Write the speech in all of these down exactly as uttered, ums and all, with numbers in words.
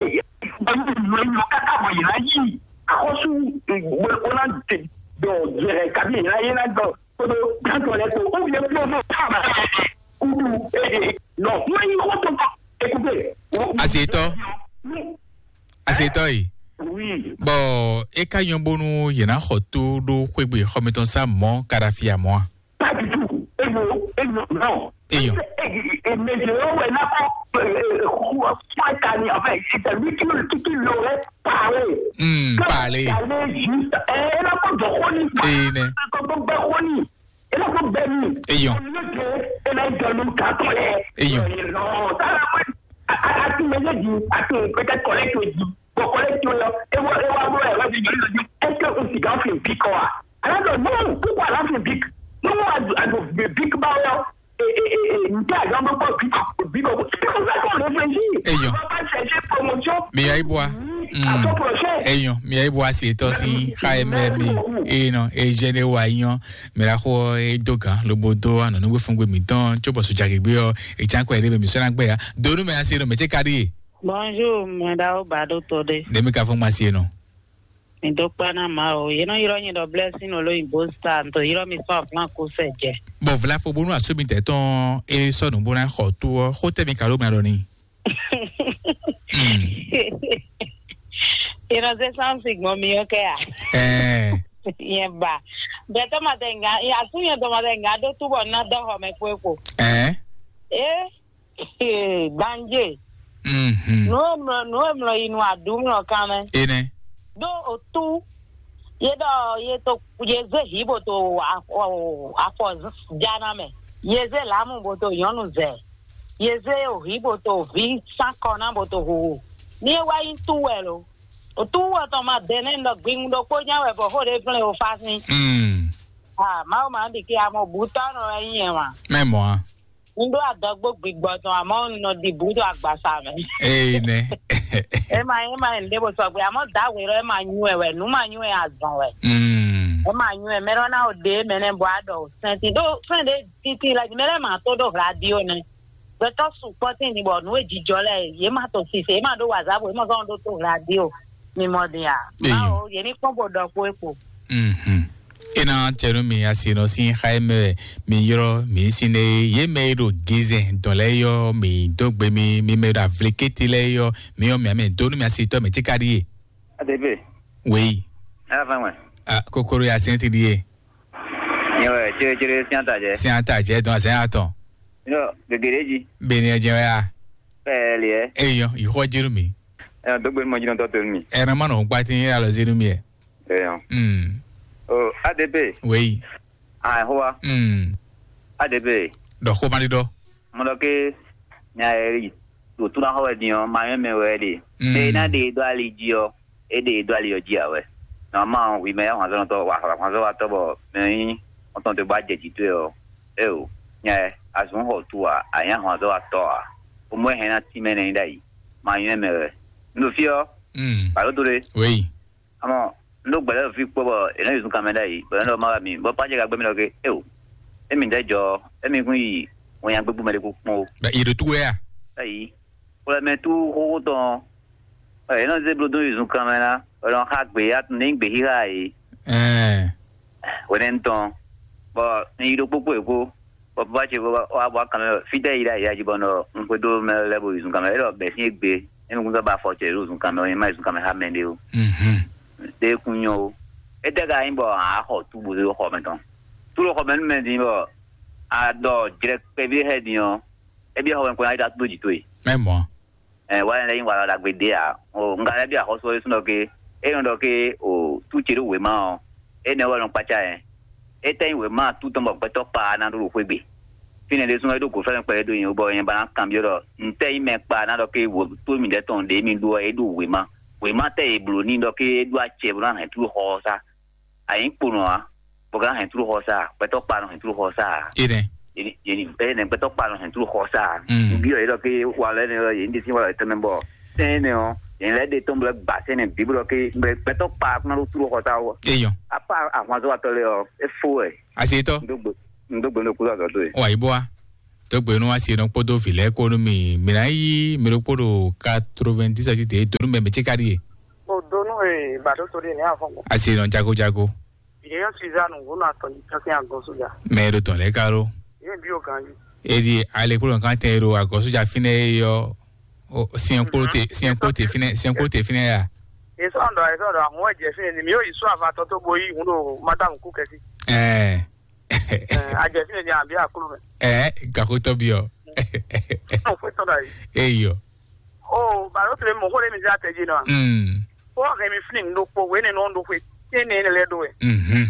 Bɔ yě nɔ káká bɔ yě ná yí axɔ́sú bó ná dɔ yɛrɛ kabi yě ná yé ná dɔ kódó gbàtɔ lɛ kó ó yẹ kó mɔ káma kudu ede nɔ mɛ yi xɔ tó kɔ ekute. Asetɔ. Asetɔ yi. Oui. Bɔn e ka nyɔ bónú yě ná xɔ tó ɖó xwégbe xɔmɛtɔn sá mɔ̌ Kadhafi a mɔ̌ a? Pas du tout. Eyo, eyo, non. Eyo. Mezero wɛ nakɔ fún ɛka ni, enfin, c'est lui qui, qui, qui l'aurait parlé. Hmm, parlé. Parlé juste. Ɛ ɛ nakɔ dɔ xɔ ni. Ee, nɛ. Kɔ gbɛ xɔ ni. E nakɔ gbɛ ni. Eyo. Olùdó e na jɔ nu kakɔ lɛ. Eyo. Non, ça la moi. A a a tu mɛ di, a tu peut-être collègue di. Bon, collègue tu là. Et voilà, et voilà, voilà, voilà, je dis, est-ce que on s'y gagne une pique quoi? Alors que non, pourquoi là c'est pique? Non, à à de pique bah là. Et et et et nous t'as jamais pas pique, pique. C'est comme ça qu'on réfléchit. Eyo. On va pas chercher promotion. Mais il y a bois. À ton prochain. Eyo, mia yi bɔ asi etɔ si xa emɛ mi. Eye nɔ ejɛ ɖe wa nyɔ. Mira xɔ edo gan lobo do anɔnugbe fúngbé mitɔn tso bɔ sojagegbe ɔ. Etsan kɔ ɛɖe bɛ mi sɔna gbɛ ya donu mɛ asi nɔ mɛ tse ka ɖi ye. Bonjour, mɛ ɖawo ba ɖo to ɖe. Ne mi ka fún ma si nɔ. Mi dó kpá ná má o. Yě nɔ yrɔ nyi ɖɔ blessing olo yibó star nto yrɔ mi sɔ plan kó sɛ jɛ. Bɔn vlafo bónú asómi tɛ tɔn e sɔnu bóná xɔ tó ɔ xó tɛ mi ka ɖó mɛ ɖɔ ni. Innocent Samson gbɔn mi ɔ́ kɛ a? Ɛɛ. Yẹn ba. Bɛtɔ ma tɛ nga, asu yẹn dɔ ma tɛ nga ɖó túbɔ ná dɔ xɔ mɛ kpó ekpo. Ɛɛ. Ee, gbanje. Mhm. Nu e mlɔ nu e mlɔ yi nu aɖu mlɔ kan mɛ. Enɛ. Ɖó o tú ye ɖɔ ye to ye zé hǐ bo to afɔ afɔ jana mɛ. Ye zé lǎmu bo to nyɔ̌nu zɛ. Ye zé o hǐ bo to vǐ sánkɔ ná bo to hoho. Ní é wá nyí tú wɛ lo. O tú wɔ tɔn ma dɛ nɛ ɖɔ gbingun ɖokpó nya wɛ bɔ xó ɖé gblɛ́n o fá sín. Mm. Ah, Mawu ma ɖi ke amɔ bǔtɔ́ nɔ wɛ nyí ɛ wa. Mɛ mɔ a? Un ɖó adɔgbó gbigbɔ tɔn amɔ un nɔ ɖi bǔ ɖo agbasa mɛ. Ee nɛ. Ema ema ende bo sɔgbe amɔ da we lɔ ema nyu ɛ wɛ nu ma nyu ɛ azɔn wɛ. Mm. Ema nyu ɛ mɛ lɔ na o de mɛ nɛ bɔ a ɖɔ o sɛnti ɖo fɛn ɖe titi la mɛ lɛ ma to ɖo radio nɛ. Gbɛtɔ sukpɔ tin ni bɔ nu e jijɔ lɛ ye ma to sise ye ma ɖo wazabo ye ma zɔn ɖo to radio mi mɔ din a. Eyo. Bawo ye ni kpɔn bo ɖɔ kpo ekpo. Mhm. Ena cɛnu mi asi nɔ sin xa e mɛ mi yrɔ mi sin ne ye mɛ e ɖo gizɛn dɔn lɛ yɔ mi dó gbe mi mi mɛ ɖo avlikete lɛ yɔ mi yɔ mi amɛ donu mi asi tɔ mi ti ka ɖi ye. Adebe. Wei. Ala fɛn wɛ. Ah, kokoro ya sɛn ti ɖi ye. Nyɛ wɛ cere cere sian ta jɛ. Sian ta jɛ dɔn azɛn atɔ. Yɔ gege ɖe ji. Beni ɛjɛ wɛ ya. Pɛɛ liɛ. Eyɔ yi xɔ jeru mi. Ɛ dogbe mɔ jinɔ tɔ to mi. Ɛrɛ ma nɔ gba ti yɛ alɔ zenu mi yɛ. Eyɔ. Mm. O A D P. Wei. Ah, hoa. Mm. A D P. Dɔ xo ma ɖi dɔ. Mo ɖɔ ke nya ɛ ɖo tuna xɔ wɛ din ɔ ma nyɔ mɛ wɛ ɖe. Mm. Ena ɖe dɔ ali ji ɔ e ɖe dɔ ali ɔ ji a wɛ. Nɔmɔ wi mɛ ya hɔn azɔn tɔ wa hɔn azɔn wa tɔ bɔ mɛ yi ɔtɔn to ba jɛ ji to ɔ. E o nya ɛ azɔn xɔ tu a a nya hɔn azɔn wa tɔ a. O mɔ hɛn na ti mɛ nɛ yi ɖa yi ma nyɔ mɛ wɛ. N ɖo fi ɔ. Mm. Balo to ɖe. Wei. Amɔ n ɖo gbɛlɛ fi kpɔ bɔ e nɔ yi zun kan mɛ ɖa yi bɔ e nɔ ma wa mi bɔ pa jɛ ka gbɛ mi ɖɔ ke e o. Emi ɖe jɔ emi kun yi wọn nya gbégbé mɛ ɖe kó kpɔn o. Bɛ yi ɖo tuwɛ ya. Ayi. Xwlɛmɛ tú xóxó tɔn ɔ, yě nɔ zé blódó yi zunkan mɛ ná, bɔ è nɔ xa gbě ya ní gbě xíxá yě. Ɛɛ. Hwenɛ́nu tɔn, bɔ un yi ɖokpó kpó yě kpó, bɔ baba ce wá wá kan mɛ fítɛ́ yi ɖ'ayǐ ají bɔ nɔ un xwedó mɛ lɛ́ɛ bo yi zunkan mɛ, é ɖɔ bɛ̌ sín égbé, é nukúntɔ́ ba afɔ ce ɖo zunkan mɛ, é má yi zunkan mɛ xá mɛ ɖé ó. Mhm. Ɖé kún nyɔ ó. Étɛ́ ka nyí bɔ a xɔ túbu ɖó xɔ mɛ tɔn? Tú ɖo xɔ mɛ nú mɛ din bɔ a ɖɔ jlɛ kpɛví xɛ din ɔ́, é byɔ́ xɔ mɛ kpɔ́n ná yi ɖo atúndó jǐ towe. Mɛ mɔ̌. Ɛ wá lɛ́ nyí walɔ ɖagbe ɖé ǎ. O un ka lɛ́ byɔ́ axɔ́sú ɔ́ ɖésúnɔ ké é nɔ ɖɔ ké o tú ce ɖó wěma ɔ́, énɛ́ wɛ nɔ kpácá ɛ. Étɛ́ nyí wěma tú tɔn bɔ gbɛtɔ́ kpa ná ɖó ɖo xwé gbe? Fínɛ́ ɖésúnɔ é ɖó gǒfɛ́nmɛ kpɛɖé dó nyi wú bɔ nyɛ ba ná kanbyɔ́ ɖɔ ntɛ́ nyí mɛ kpa ná ɖɔ ké wǒ tó mǐdɛɛ tɔn ɖě mi ɖó ɔ́ é ɖó wěma. Wěma tɛ́ è blǒ n'i ɖɔ ké é ɖó acɛ bó ná hɛn tú ɖo xɔ ɔ́ sá. A nyǐ kponɔ ǎ, bɔ ka hɛn tlú xɔ sá, gbɛtɔ́ kpa nɔ hɛn tlú xɔ sá ǎ. Enɛ. Yeni yeni ene gbɛtɔ́ kpa nɔ hɛn tlú xɔ sá ǎ. Mm. Nbí ɔ yɛ ɖɔ ké wa lɛ ne ɔ yeni ɖe sín wa lɛ tɛmɛ bɔ sɛn ne ɔ yeni lɛ ɖe tɔn blɛ gba sɛn ne bí blɔ ké gbɛtɔ́ kpa kún ɖó tlú xɔ sá wɔ. Eyɔ. Apa ahwanzɔ atɔ lɛ ɔ efo wɛ. Asetɔ. Ndo gbe ndo gbe ndo kúlɔ azɔ do ye. Wa yi bɔ wa. Dɔgbe nú asi nɔ kpódó vǐ lɛ́ɛ kpó nú mi. Mi ná yí mi ɖokpó ɖo quatre-vingt-dix ɔ́ jí dě dó nú mɛ mɛ ce ka ɖíe. O do nú e ba ɖó to ɖe nɛ afɔ gbɔ. Asi nɔ jago jago. Yeyɔ Suzanne ŋgó nɔ atɔ yi tɔn sín agɔ sójà. Mɛ ɖo tɔn lɛ ka ɖo. Yé bi o ganji. Edi ale kpó nɔ kan tɛ ɖo agɔ sójà fínɛ yɔ. Siɛn kpó te siɛn kpó te fínɛ siɛn kpó te fínɛ ya. Esɔndɔ esɔndɔ ahun wɛ jɛ fínɛ ni mi yóò yi sún avatɔ tó bo yi hun ɖo madamu kú kɛsi. Ɛɛ. Ajɛ fínɛ ni àbí àkúrò mɛ. Ɛɛ gakotɔ bi ɔ. Ɔn fún tɔn da yi. Eyɔ. O balo tile mɔ kó lé mi sí àtẹ̀jì náà. Mm. Kó wọ́n hẹn mi fún ní nínú kpó wéé nínú ọ̀dọ́ pé kí ni ilẹ̀ dó ẹ̀. Mhm.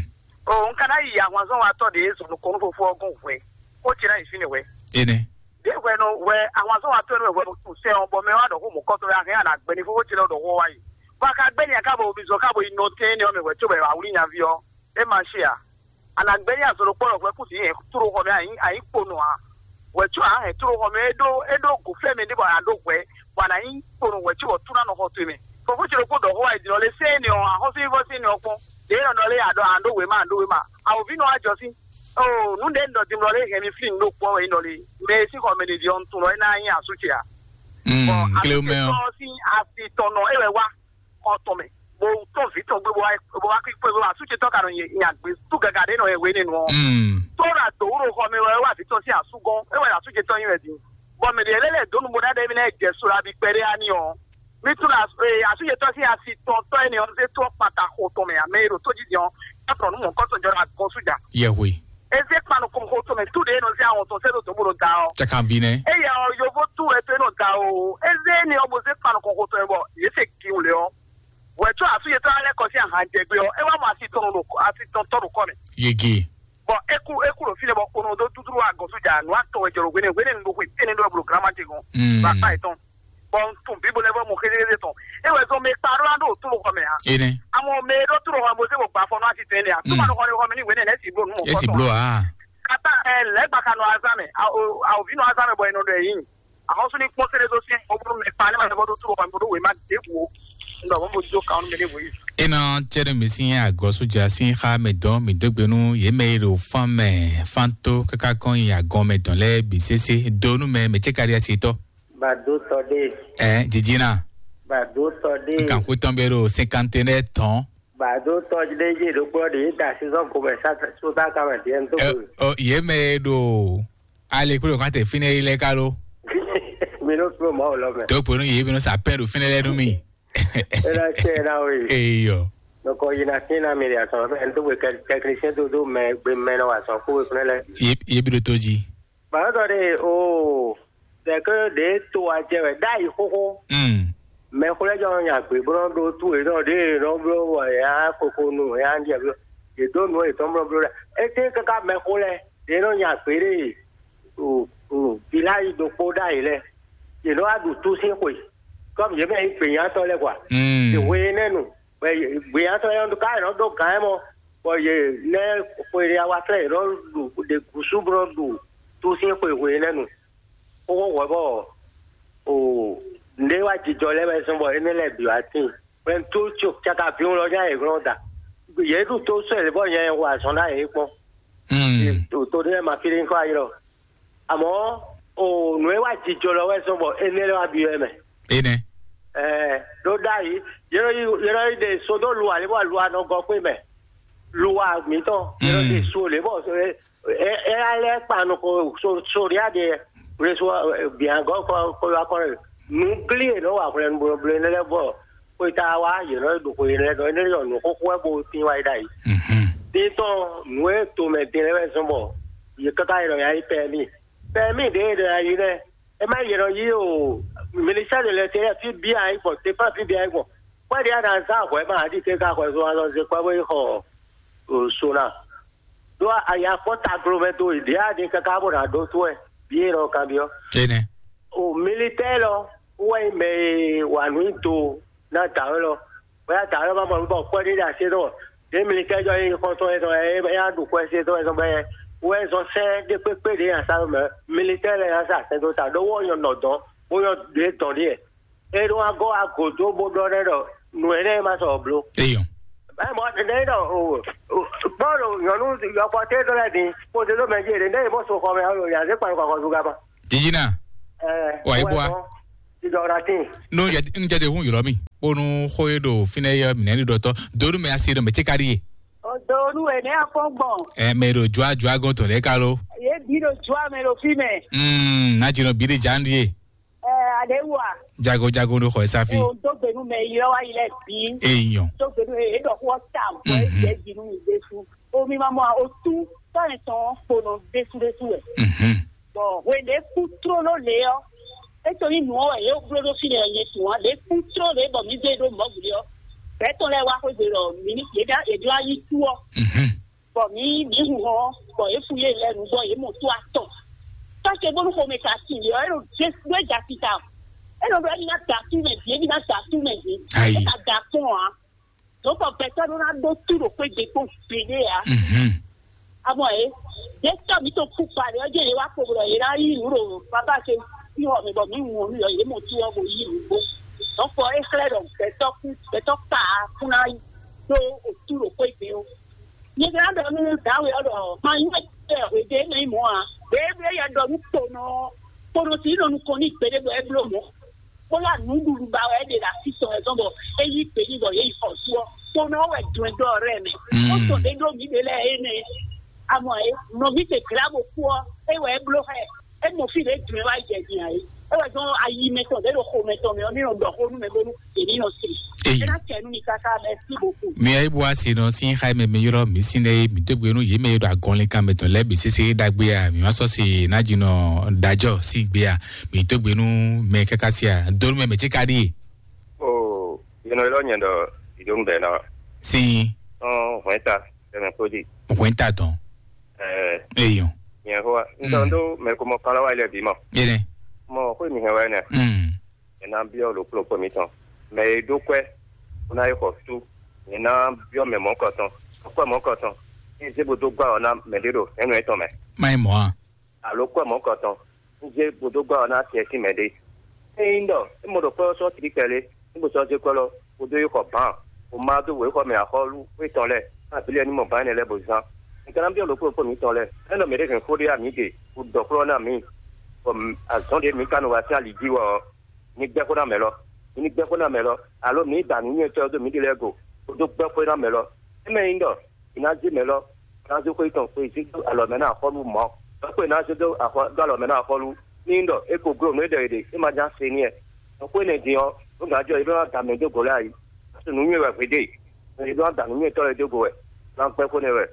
O n kana yi àwọn azɔn wa tɔ de zɔn kɔnú fofo ọgún wẹ kó tsi náà yi fínɛ wẹ. Ene. Bí wẹ nɔ wẹ àwọn azɔn wa tɔ ní wẹ wẹ kò sẹ́ ọ bọ mẹ wa dọ̀ kó mọ̀ kọ́tọ́ ya hẹ́ àná gbẹ ní fofo tsi náà dọ̀ wọ́ wa yi. Bɔ a ka gbẹ́ ní a ká bɔ omi zɔ ká bɔ yi nɔ tẹ́ ní ọmọ ìwẹ̀ tó bẹ̀ wà wúlí nyaví ọ. E ma ṣe à. Àná gbẹ́ ní azɔn kpɔ́ wẹ kú sí yẹn tó xɔ mẹ àyín àyín kponú à. Wɛ tó à hẹ́ tó xɔ mẹ é ɖó é ɖó gò fẹ́ mi ní bɔ à ɖó wẹ bɔ àná yín kponú wɛ tó bɔ tó ná nɔ xɔ tó mɛ. Fofo tsi ɖokpó dɔ xó wa yi din ɔ lé sɛ́ ni ɔ axɔ́sú yín fɔ sí ni ɔ kpɔn. Ɖě nɔ nɔ lé àɖɔ àɖó wě ma àɖó wě ma. Àwòví nɔ wá jɔ sí. Oo nú ɖě nɔ din lɔ lé hɛn mi flin ɖó kpɔ́ wɛ nɔ lé. Mɛ e sín xɔ mɛ ɖě ɔn tun lɔ é ná nyí asú ce à. Mm, Bɔn kleo mɛ ɔ. Asú ce tɔn sín asi tɔn nɔ é wɛ wá xɔ tɔn mɛ. Bo tɔn vǐ tɔn gbé bo wá bo wá kí kpé bo asú ce tɔn ka nɔ nya gbé sú gaga ɖě nɔ yɛ wé nínú ɔ. Mm. Tó ra dòwúrò xɔ mɛ wɛ wá vǐ tɔn sín asú gɔn é wɛ asú ce tɔn nyí wɛ din. Bɔn mɛ ɖě lɛ́ lɛ dǒ nu bo ná ɖe émí lɛ́ jɛ so la bí kpɛɖé ani ɔ. Mi tún la ee asúyetɔ sín asi tɔn tɔ́ énɛ́ ɔ́ zé tó ɔ́ kpata xo tɔn mɛ ǎ mɛ e ɖo tójijɛ ɔ́ é trɔ nú mɔ̌kɔ́tɔn jɔ ɖo agɔn sú ja. Yɛhwe. É zé kpa nukɔn xo tɔn mɛ tú ɖě é nɔ zé awɔn tɔn sɛ́ ɖo dǒ bó ɖo da ɔ́. Caka bi nɛ́. Éyɛ ɔ́ yovo tú wɛ tó é nɔ da o. É zé énɛ́ ɔ́ bó zé kpa nukɔn xo tɔn mɛ bɔ yě se giwun lě ɔ́. Wɛ tó asúyetɔ alɛ kɔ sín ahan jɛ gbé ɔ́ é wá mɔ asi tɔn ɖo asi tɔn tɔ́ ɖo kɔ mɛ. Yege. Bɔ é kú é kú ɖo fínɛ́ bɔ kpono dó dúdú agɔn sú ja nǔ atɔn wɛ jɛ ɖo hwenɛ́ hwenɛ́ nu ɖo xwe tɛ́nɛ ɖo wɛ blo granma ce gɔn. Mm. Bɔ akpa yětɔn. Bɔ n tun bíbo lɛ́ɛ vɔ mɔ xézézé tɔn. É wɛ zɔn mɛ kpa ɖó ná ɖo tó xɔ mɛ ǎ. Ene. Amɔ mɛ e ɖó tó xɔ mɛ bó zé bɔ gbafɔ nú asi tɛn nɛ ǎ. Tó ma nɔ xɔ ní xɔ mɛ ní wěnɛ lɛ́ si bló nú mɔ. Esi bló a. Kata ɛ lɛ́ gbaka nɔ azán mɛ. Awòví nɔ azán mɛ bɔ è nɔ ɖɔ ɛ yín. Ahɔ́sú ní kpɔ́n sɛ́ ɖé dó syɛ́n bó bló mɛ kpa ní ma lɛ́ bɔ ɖó tó xɔ mɛ bó ɖó wěma ɖěbǔ. Un ɖɔ mɔ̌ bó dó kan nú mɛ ɖěbǔ yìí. Ena cɛɖɛ mi sín agɔsúdza sín xá mɛ dɔn mi dó gbe nú yě mɛ e ɖo fán mɛ fán tó káká kɔn nyi agɔn mɛ dɔn lɛ́ɛ bǐ sésé dó nú mɛ mɛ cɛ́ káɖí asi tɔ́. Bado tɔ ɖe. Ɛ jijina. Bado tɔ ɖe. Nkan kú tɔn bɛ ɖo cinquante ne tɔn. Bado tɔ ɖe yé ɖokpɔ ɖe yé da sizɔn ko mɛ sa so ta ka mɛ diɛ n to. Ɔ yé mɛ ɖo ale kúrò kan tɛ fínɛ yi lɛ ká ló. Mi ló fúló mɔ wò lɔ mɛ. Tó ponu yé mi ló sa pɛn ɖo fínɛ lɛ nú mi. Ena tse na o yi. Eyɔ. Nɔkɔ yi na fín na mi ɖe asɔn fɛ n tó gbe technicien tó dó mɛ gbe mɛ nɔ wa sɔn kó we fúnɛ lɛ. Yé yé bi ɖo tó jí. Bàbá de o dɛkɛ de to ajɛ wɛ da yi xoxo. Mm. Mɛ xlɛ jɔ nya gbe bro do tu e nɔ de nɔ bro wɔ ya koko nu ya ndi bro de do nu e tɔn bro bro la. Ete kaka mɛ xlɛ de nɔ nya gbe de o o village do kpo da yi lɛ. De nɔ adu tu sin xwe. Comme ye mɛ yi gbe nya tɔ lɛ kwa. Mm. De we ne nu. Bɔ gbeyãtɔ yɛ ɔ́ ka yě nɔ dó gǎn ɛ mɔ, bɔ yě lɛ́ xwe ɖé awa flɛ́ yě nɔ ɖu ɖe gǔsú bó nɔ ɖu tú sín xwe hwe lɛ́ɛ nu. Xóxó hwɛ bɔ o nǔɖé wá jijɔ lɛ́ɛ wɛ zɔ́n bɔ énɛ́ lɛ́ɛ bǐ wá tíin. Hwɛntú cakaví lɔ nya yě glɔ́n da. Yě ɖu tó sɔ́ yě bɔ nya yɛ hu azɔn ná yě kpɔ́n. Mm. To ɖé ma fi ɖé kɔ ayi lɔ. Àmọ́ o nǔ e wá jijɔ lɔ wɛ zɔ́n bɔ énɛ́ lɛ́ɛ wá byɔ́ ɛ mɛ. Ene. Ɛɛ ɖó ɖ'ayǐ yɛlɛ yi yɛlɛ yi ɖe sodó lu ǎ lě bɔ lu anɔ gɔ kpé mɛ. Lu wa mǐtɔn yɛlɛ ɖe so lě bɔ ɛ ɛ alɛ kpa nɔ ko so so ɖia ɖe wle so biagɔ kɔ kɔ wa kɔ nǔ glí e nɔ wa hwlɛnu blo blo énɛ́ lɛ́ɛ bɔ xweta wa yě nɔ ɖo xwe énɛ́ lɛ́ɛ dɔn énɛ́ lɛ́ɛ nǔ xóxó wɛ bo tín wa yi ɖ'ayǐ. Mhm. Títɔn nǔ e tomɛ din lɛ́ɛ wɛ zɔ́n bɔ yě káká yi nɔ ya yi pɛ mì pɛ mì ɖě e ɖɔ ya yi lɛ́ɛ. E ma yɛ nɔ yi o, ministère de l'intérieur fi bi ayi gbɔn, défense fi bi ayi gbɔn. Kpɛɖi a na zan hwɛ ma adi ke ka hwɛ zo alɔ ze kpɛ bo yi xɔ o sona. Do aya kpɔ taglo mɛ do yi dia di kaka bo na do to ɛ bi e nɔ kan bi ɔ. Ene. O militaire lɔ wɛ mɛ wa nu do na ta lɔ. Bóyá dǎ lɔ ma mɔ nukɔ kpɔ́ ɖé ɖe así nɔ ɖě militɛ́ jɔ yin xɔntɔn ɛ zɔn ɛ ɛ ya ɖu xwɛ se tɔn ɛ zɔn bɛ wɛ zɔn sɛ ɖé kpékpé ɖě nya sa mɛ militɛ́ lɛ nya sa sɛn dó ta ɖó wɔ nyɔ nɔ dɔn bó nyɔ ɖě dɔn ɖíɛ é ɖó wá gɔ́ wá gǒ dó bó ɖɔ nɛ ɖɔ nǔ énɛ́ ma sɔ bló. Eyɔn. Ɛ mɔ ɖe ɖɔ o o kpɔ́ ɖo nyɔ̌nu yɔkpɔ́ tɛ́ dɔ́ lɛ́ɛ din kpódó ɖó mɛ jí ɖe ɖe mɔ so xɔ mɛ ɔ́ yǎ zé kpan kɔkɔ zú gaba. Jijina. Ɛ Wà yí bua. Ìdɔ̀rà tín. Nú jɛ nú jɛ de hún yɔlɔ mi. Bónú xó e ɖo fínɛ́ yɛ mǐ nɛ́ ɖi ɖɔtɔ́. Donu mɛ asi ɖo mɛ tí ka ɖi ye. Odonu ene afɔgbɔn. Ɛ mɛ ɖo jua jua gɔn tɔn lɛ ka lo. Ye bi ɖo jua mɛ ɖo fi mɛ. Mm, na jinɔ bi ɖe jan ɖi ye. Ɛ aɖe wa. Jago jago ɖo xɔ esa fi. O do gbenu mɛ yi lɔ wa yi lɛ bi. Eyɔn. Do gbenu e ɖɔ xɔ ta bɔ e jɛ jinu mi de su. O mi ma mɔ a o tu tɔn etɔn kponɔ desu desu wɛ. Mhm. Bɔn hwenu e kú tlóló lě ɔ́, é to nyí nǔ ɔ́ wɛ yě bló ɖó fínɛ́ ɔ́ nyɛ tunwun ǎ. Lě kú tlóló lě bɔ mǐ zé ɖó mɔ̌ gblě ɔ́, gbɛ̌tɔ́ lɛ́ɛ wá xwé gbe ɖɔ mǐ ní yě ɖá yě ɖó ayí kú ɔ́, Mhm. Bɔ mǐ mǐ hu hɔn, bɔ yě fu yé lɛ́ɛ nu, bɔ yě mɔ tó atɔn. Tɔ́ ce bónú xomɛ ka sin yě ɔ́, é ɖo Jezu é da sika. É nɔ ɖɔ émí ná da tú mɛ bǐ, émí ná da tú mɛ bǐ. Ayi. É ka da kpɔ́n ǎ. Dǒkɔ gbɛtɔ́ ɖó ná ɖó tú ɖo xwé gbe kpɔ́n gbeɖé ǎ. Mhm. Abɔ é, yě tɔ́ mǐ tɔn kú kpa ɖe ɔ́ jẹ́ yě wá kpo ɖɔ yě ná yí nǔ ɖo babá ce sín xɔ mɛ bɔ mǐ hun ɔ́ nú yɔ yě mɔ tú ɔ́ bó yí nǔgbó. Dɔ̌nkɔ é xlɛ́ ɖɔ gbɛtɔ́ kú gbɛtɔ́ kpa kún ná ɖó otú ɖo xwé gbe ó. Nyɛ ka ɖɔ nú dǎwe ɔ́ ɖɔ ma nyí wɛ hwedě mɛ nyí mɔ̌ ǎ. Ɖěe ɖo éyɛ́ ɖɔ nú kponɔ ɔ́, kponɔ sí nɔ nukɔn n'i gbeɖé bɔ é bló mɔ̌. Bó lá nǔɖuɖu ba wɛ é ɖe ɖo así tɔn wɛ zɔ́n bɔ é yí gbe n'i bɔ yě yi xɔ sú ɔ́. Kponɔ ɔ́ wɛ dɔn ɛ dó ɔrɛ́ mɛ. Mm. Ó tɔn ɖé ɖó mǐ ɖe lɛ́ɛ énɛ́. Amɔ é, nɔví ce glá bó kú ɔ́, é wɛ é bló xá ɛ. É mɔ fí ɖě dun ɛ wá jɛ din ǎ é. É wɛ zɔ́n ayi mɛtɔn ɖě ɖo xo mɛtɔn mɛ ɔ́, ní nɔ ɖɔ xó nú mɛ bónú yě ní nɔ se. Eyi. É ná tɛ nú mi káká, merci beaucoup. Mi ayé bu asi nɔ sín xá mɛ mi ylɔ́ mi sín lɛ́ɛ mi dó gbe nú yě mɛ e ɖo agɔnlin kan mɛ tɔn lɛ́ɛ bǐ sésé ɖagbe a mi ma sɔ́ si ná ji nɔ ɖajɔ sín gbe a mi dó gbe nú mɛ káká si a dó nú mɛ mɛ tí ka ɖíe. O yɛnɛ lɔ nyɛ ɖɔ ìdóhùn bɛɛ náà. Sín. Ɔn hwɛn ta tɛmɛ kpódì. Hwɛn ta tɔn. Ɛɛ. Eyɔn. Nyɛ xó wa n tɔ n tó mɛ ko mɔ kpala wa ilẹ̀ bí mɔ. Yẹnɛ. Mɔ xó mi hɛn wa yẹn nɛ. Mm. Ɛ ná byɔ́ ɖokplɔ́kpɔ mitɔn. Mɛ e ɖó kwɛ́ bó ná yi xɔ sú, nyɛ ná byɔ́ mɛ mɔ̌kɔtɔn, kwɛ́ mɔ̌kɔtɔn, ní zé bó dó gbá ɔ́ ná mɛ ɖé ɖo hɛ̌nnu étɔn mɛ. Má nyí mɔ̌ a? Alo kwɛ́ mɔ̌kɔtɔn, ní zé bó dó gbá ɔ́ ná acɛ sín mɛ ɖé. Ényí ɖɔ é mɔ ɖo kwɛ́ ɔ́ sɔ́ tlí kpɛɖé, ní bó sɔ́ zé kwɛ́ lɔ, bó dó yi xɔ bǎn, bó má dó wěxɔ mɛ axɔ́lú étɔn lɛ́ɛ, ná abǐ lɛ́ɛ ní mɔ bǎn énɛ́ lɛ́ɛ bó zán. Mi ka ná byɔ́ ɖokplɔ́kpɔ mitɔn lɛ́ɛ, é nɔ mɛ ɖé hɛn xó ɖé a mǐ ɖe, bó ɖɔ xlɔ́ ná mǐ, bɔ azɔ̌ ɖé mi ka nɔ wa sín ali jí wɛ ɔ́, mi ní gbɛ́ xó ná mɛ lɔ. Mi ní gbɛ́ xó ná mɛ lɔ, alo mi ní da nǔnywɛ́tɔ́ dó mǐɖée lɛ́ɛ go, bó dó gbɛ́ xó ná mɛ lɔ. É mɛ nyí ɖɔ mi ná zé mɛ lɔ, ná zé xwé tɔn xweyǐzí dó alɔ mɛ ná axɔ́lú mɔ̌. Xwé ná zé dó axɔ dó alɔ mɛ ná axɔ́lú. Ní nyí ɖɔ é ko gló nǔ e ɖɔ è ɖe, é ma ján se n'i wɛ. Xwé nɛ din ɔ́, nú gǎn jɔ é ɖó ná da mɛ dó gǒ lɛ́ɛ ayi. Nǔnywɛ́ wɛ hwedéè, è ɖó ná da nǔnywɛ́tɔ́ lɛ́ɛ dó go wɛ, ná gbɛ́ xó nɛ́ wɛ.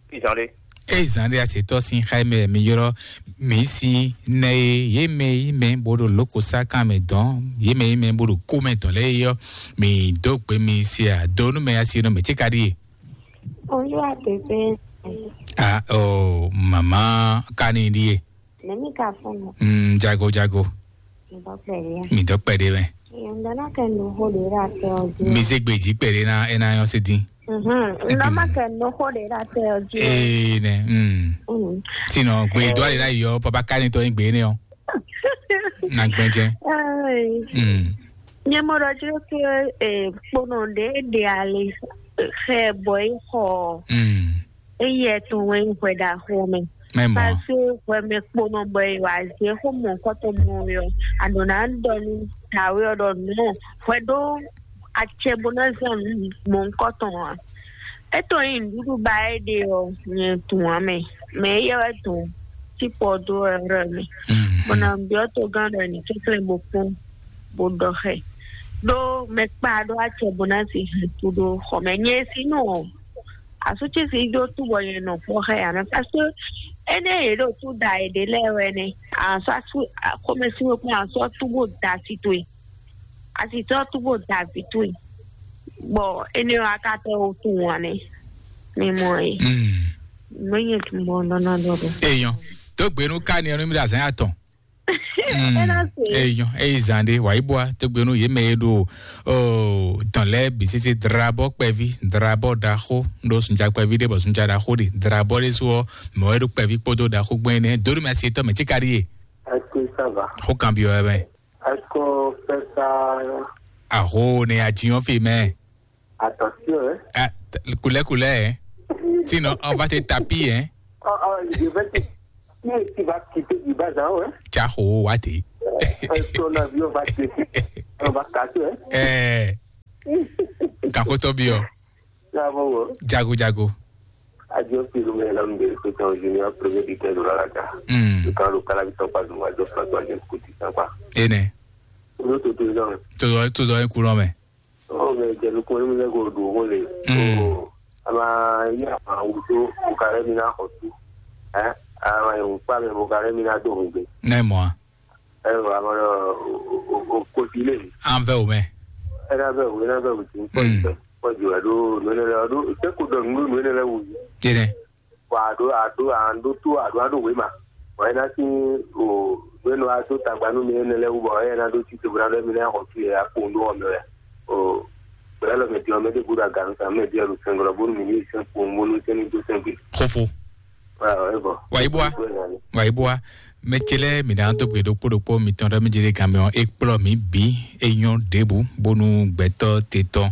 Fí zán ɖé. Eye zán ɖé asetɔ́ sín xá mɛ mi ylɔ́ mǐ sí nɛ e yě mɛ yí mɛ bó ɖo lǒkosá kan mɛ dɔn, yě mɛ yí mɛ bó ɖo kó mɛ dɔn lɛ́ɛ é ɔ́, mǐ dó gbe mi se ado nú mɛ asi nɔ mɛ tí ka ɖíe. Olúwa bèbè. A o màmá ka ní ɖíe. Nɛmi ka fún mi. Mm, jago jago. Ìbọn pẹ̀lú yẹn. Mi dɔ kpɛɖe mɛ. Ìyẹn dáná kẹ́ nu hó lè rà tẹ ọdún. Mi se gbeji kpɛɖe na ena yɔ se din. Mhm. Ńlá má kẹ́ nu hó lè rà tẹ ọdún. Ee nɛ. Mm. Mm. Sinɔ gbe dɔ ale la yɔ papa kani tɔ gbe ne ɔ. Na gbɛjɛ. Ai. Mm. Nyɛmɔɖɔ tí ó ké kponɔ ɖé ɖe ali xɛ bɔ é xɔ. Mm. Eye tɔn wɛ nyí hwɛ ɖaxó mɛ. Mɛ mɔ. Parce que hwɛ mɛ kponɔ bɔ è wá zé xó mɔ̌hunkɔtɔn mɔ ɔ́, a ɖǒ ná ɖɔ nú dǎwe ɔ́ ɖɔ nǔ hwɛ ɖó acɛ bó ná zán nǔ mɔ̌hunkɔtɔn ǎ. É tɔn nyí nǔɖuɖu ba é ɖe ɔ́, nyɛ tunwun ǎ mɛ. Mɛ éyɛ́ wɛ tunwun tí pɔ dó ɛ mɛ. Mm, bɔ mm. Na byɔ́ togán ɖɔ ní kɛnklɛ́n bó kpɔ́n bó ɖɔ xɛ. Ɖó mɛ kpa ɖó acɛ bó ná si hɛn tu ɖó xɔ mɛ. Nyɛ si nɔ asútsi si ɖó túbɔ nyɛ nɔ kpɔ́ xɛ ǎ mɛ. Parce que énɛ́ yě ɖo tú da è ɖě lɛ́ɛ wɛ nɛ́. Asú asú xɔmɛsíwé kpɔ́n asú ɔ́ túbɔ da asi towe. Asi tɔ́ túbɔ da vǐ towe. Bɔ énɛ́ ɔ́ a ka tɛ wo tunwun ǎ nɛ́. Mi mɔ ɛ. Mm. Mɛ nyɛ tun bɔ nɔ nɔ dɔ dɔ. Eyɔn. Tó gbenu ká ni ɛnu mi ɖe azán yà tɔn. Mm. Ena se. Eyɔn eyi zan ɖe wà yí bua tó gbenu yé mɛ yé ɖo o dɔn lɛ bi sese drabɔ kpɛvi drabɔ ɖaxó ɖo sunja kpɛvi ɖe bɔ sunja ɖaxó ɖe drabɔ ɖe so ɔ mɛ wɛ ɖo kpɛvi kpódó ɖaxó gbɛn nɛ dórí mɛ asi tɔ mɛ tí ka ɖi yé. Est-ce que ça va? Xó kan bi wɛ mɛ. Est-ce que ça? Aho ne a ti yɔn fi mɛ. Attention, hein? Ah, Couleur, couleur, hein. Sinon, on va te taper, hein. Ah, ah, je vais te, tu, tu vas quitter du bas en haut, hein. Tchao, wa te. Euh, ton avion va te, on va casser, hein. Eh. Kako to bio. Bravo, hein. Jago, jago. Adieu, Pilou, mais l'homme de Pétan Junior, premier buteur de la Raga. Hmm. Le camp local, avec son passe, moi, je François, je écoute ça, quoi. Ene. Nous, tout le temps. Tout, tout, tout, courant, mais. Oh, mais j'ai le courant, mais j'ai le courant, les. Hmm. Oh, ama, il y a un outil, au carré, il y a un outil. Hein? Ah, ouais, on parle, au carré, il y a deux. Ne, moi. Ɛ wɔ amɔ ɖɔ o kosi lé. An vɛ o mɛ. Ɛ na vɛ o, ɛ na vɛ o ti. Kpɔji wɛ ɖo nɔnɛ lɛ ɖo sɛ ko dɔ nunu nɔnɛ lɛ wu. Tɛnɛ. Wa ɖo aɖo an ɖo to aɖo aɖo wema. Wa ɛ na si o nɔnɛ wa to tagba nu mi nɛ lɛ wu bɔ ɛ na ɖo ti to bra ɖe mi na xɔ tu yɛ akpo ndo ɔmɛ wɛ. O bra lɔ mɛ ti ɔmɛ de bu da ganu sa mɛ di ɛlu sɛngɔ bonu mi ni sɛn ko bonu sɛn ni do sɛn gbe. Xofo. Wa ɛ bɔ. Wa yi bua. Wa yi bua. Mɛ ce lɛ́ɛ mǐ ná dó gbe ɖokpó ɖokpó mitɔn ɖɔ mí jɛ ɖe gan mɛ ɔ́, é kplɔ́ mǐ bǐ, é nyɔ́ ɖěbǔ, bónú gbɛtɔ́ te tɔn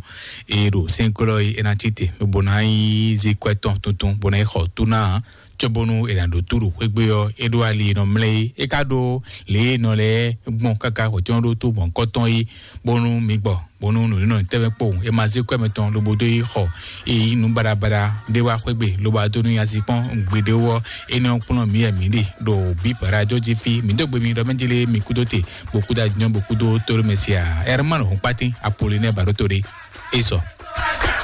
e ɖo sɛ́nklɔ́ e é ná cí te, bó ná yi zí kwɛ́ tɔn tuntun, bó ná yi xɔ tú ná ǎ, cóbónú è nǎ ɖó tú ɖo xwé gbe ɔ́, é ɖó ali e nɔ mlɛ́ é. É ka ɖó lě e nɔ lɛ́ɛ gbɔn káká hwɛ̌cɔ́n ɖó tó mɔ̌hunkɔtɔn é, bónú mi gbɔ, bónú nǔnínɔ tɛ́nmɛ kpowun è ma zé kwɛ́ mɛtɔn lobo dó yi xɔ yi nǔ baɖabaɖa ɖé wá xwé gbe lobo adó nú nyazi kpɔ́n gbeɖé wú ɔ́, énɛ́ ɔ́ kplɔ́n mǐ wɛ mǐ ɖe ɖo bǐ bǎɖajɔ́ jí fí. Mǐ dó gbe mi ɖɔ mɛ jélé mi kúdó te, bó kúdó ajínjɔ́n, bó kúdó tóɖó mɛ sia. Ɛrmán Hɔnkpátín Apolinɛ́ɛ Baɖóto ɖé. É sɔ.